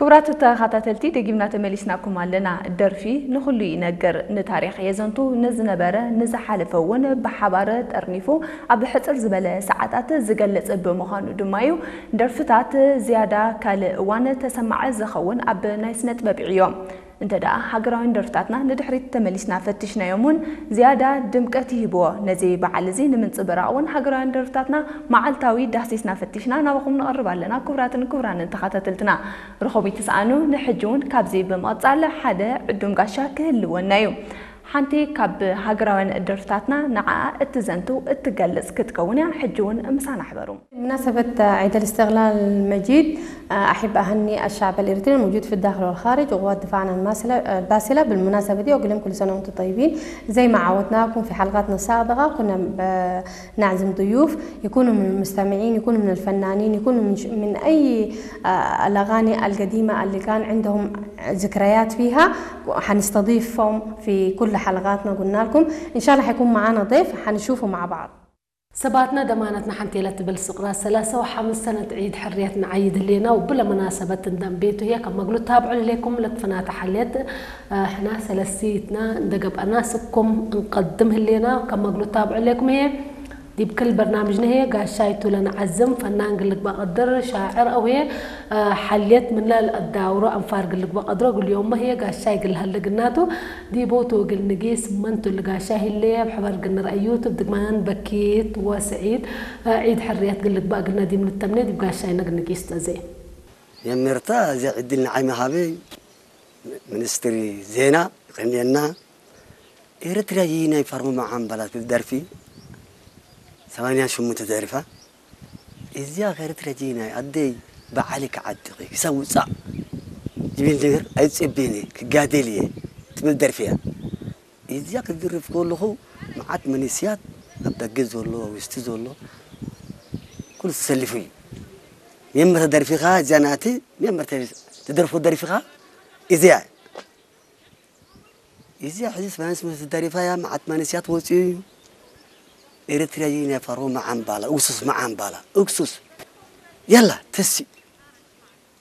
ክቡራት ተኸታተልቲ፣ ደጊምና ተመሊስናኩም ኣለና። ደርፊ ንኹሉ ይነግር፣ ንታሪኽ የዘንቱ፣ ንዝነበረ ንዝሓለፈ እውን ብሓባር ጠርኒፉ ኣብ ሕጽር ዝበለ ሰዓታት ዝገልጽ ብምዃኑ ድማ እዩ ደርፍታት ዝያዳ ካልእ እዋን ተሰማዒ ዝኸውን ኣብ ናይ ስነ ጥበብ ዕዮ። እንተ ደኣ ሃገራውያን ደርፍታትና ንድሕሪት ተመሊስና ፈቲሽናዮም እውን ዝያዳ ድምቀት ይህብዎ። ነዚ በዓል እዚ ንምንጽብራቕ እውን ሃገራውያን ደርፍታትና መዓልታዊ ዳህሲስና ፈቲሽና ናባኹም ንቐርብ ኣለና። ክቡራትን ክቡራንን ተኸታተልትና፣ ርኹም ይትስኣኑ። ንሕጂ እውን ካብዚ ብምቕጻል ሓደ ዕዱም ጋሻ ክህልወና እዩ። ሓንቲ ካብ ሃገራውያን ደርፍታትና ንዓኣ እትዘንቱ እትገልጽ ክትከውን እያ። ሕጂ እውን ምሳና ሕበሩ። بمناسبة عيد الاستقلال المجيد، أحب أهني الشعب الإريتري الموجود في الداخل والخارج وقوات دفاعنا الماسلة- الباسلة بالمناسبة دي، وأقول لهم كل سنة وأنتم طيبين. زي ما عودناكم في حلقاتنا السابقة، كنا ب- نعزم ضيوف يكونوا من المستمعين، يكونوا من الفنانين، يكونوا من ش- من أي آه، الأغاني القديمة اللي كان عندهم ذكريات فيها. حنستضيفهم في كل حلقاتنا، قلنا لكم إن شاء الله حيكون معانا ضيف حنشوفه مع بعض. ሰባትና ደማናትና ሓንቲ ኢላ ትብል ስቕራ ሰላሳ ወሓምስ ሰነት ዒድ ሕርየት ንዓይድ ህሌና ወብለ መናሰበት እንደም ቤቱ ህየ ከም መግሉ ታብዑ ህሌኩም ለትፍናተ ሓልየት ሕና ሰለሲትና እንደገብአና ስኩም እንቀድም ህሌና ከም መግሉ ታብዑ ህሌኩም ህየ ዲብ ክል በርናምጅነ ህየ ጋሻይ ቱለ ንዓዝም ፈናን ግልግባ ቅድር ሻዕር አው ህየ ሓልየት ምለል አዳውሮ አንፋር ግልግባ ቅድሮ ግልዮሞ ህየ ጋሻይ ግልሀልግናቱ ዲቦቱ እግል ንጊስ መንቱ ልጋሻ ሂሌ ኣብ ሕበር ግንረአዩ ትብድግማን በኪት ወስዒድ ዒድ ሕርያት ግልግባ እግልና ዲም ልተምኔ ዲብ ጋሻይ ነግ ንጊስ ተዜ። የምርታ እዚያ ዕድል ንዓይ ምሃበይ ሚኒስትሪ ዜና ይቀንየና። ኤርትራ ይናይ ፋርሞ መዓምባላት ደርፊ ሰማንያን ሸሞንተ ደሪፋ። እዚኣ ከርትረጂናይ ኣደይ በዓሊ ክዓጥኺ ክሳብ ውፃእ ዝብል ነገር ኣይፅብን እየ ክጋደል እየ ትብል ደርፊ እያ። እዚኣ ክድርፍ ከለኹ መዓት መንእስያት ኣብ ደገ ዘሎ ኣብ ውሽጢ ዘሎ ኩሉ ተሰሊፉ እዩ። መጀመርታ ደርፊኻ እዚኣ ናቲ መጀመርታ ትደርፎ ደርፊኻ እዚኣ እዚኣ ሕዚ ስማንስ ምስ ደሪፋያ መዓት መንእስያት ወፂኡ እዩ። ኤርትራ እዩ ናይ ፈርዎ መዓምባላ እግሱስ መዓምባላ እግሱስ የላ ተሲ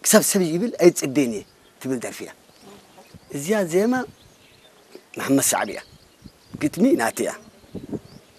ክሳብ ሰብ ይብል ኣይፅቤን እየ ትብል ደርፊ እያ። እዚኣ ዜማ መሓመድ ሳዕቢ እያ። ግጥሚ ናቲ እያ።